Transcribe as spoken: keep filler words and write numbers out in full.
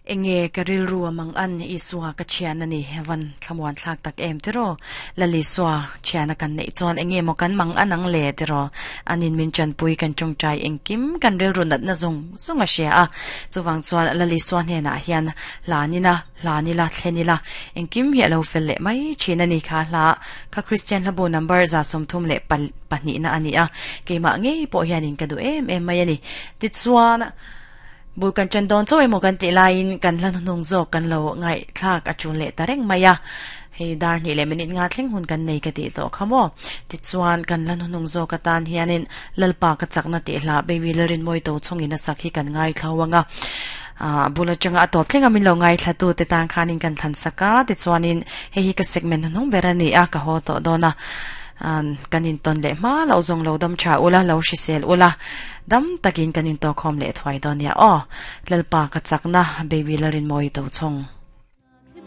Enge ka rilru amang an Isua ka thian ani van thlamuan thlak tak em tiro lali swa thiana kan nei chuan enge mo kan mang anang le tiro anin min chan pui kan chung chai engkim kan rilru nat na zung zunga she a chuwang chuan lali swa hne na hian lanina lanila thlenila engkim hi alo fel le mai thina ni kha hla kha Christian labo number za som thum le pahnih na ani a keima ngei pawh hianin ka du em em mai ani ti chuan bul kan chan don choi mo kan ti lain kan hlan nung zo kan lo ngai thlak a chun le tareng maya hei dar ni le minute nga thleng hun kan nei ka ti to khamo ti chuan kan lan nung zo ka tan hianin lalpa ka chakna ti hla baby lerin moi to chongin a sakhi kan ngai thlawanga a bula changa atop thlenga min lo ngai thla tu te tang khanin kan thlan saka ti chuanin hei hi ka segment nung berani a ka ho to dona an kanin ton le ma lo zong lo dam cha ula lo shisel ula dam takin kanin to khom le thwai donia o lalpa ka chakna baby larin moi to chong.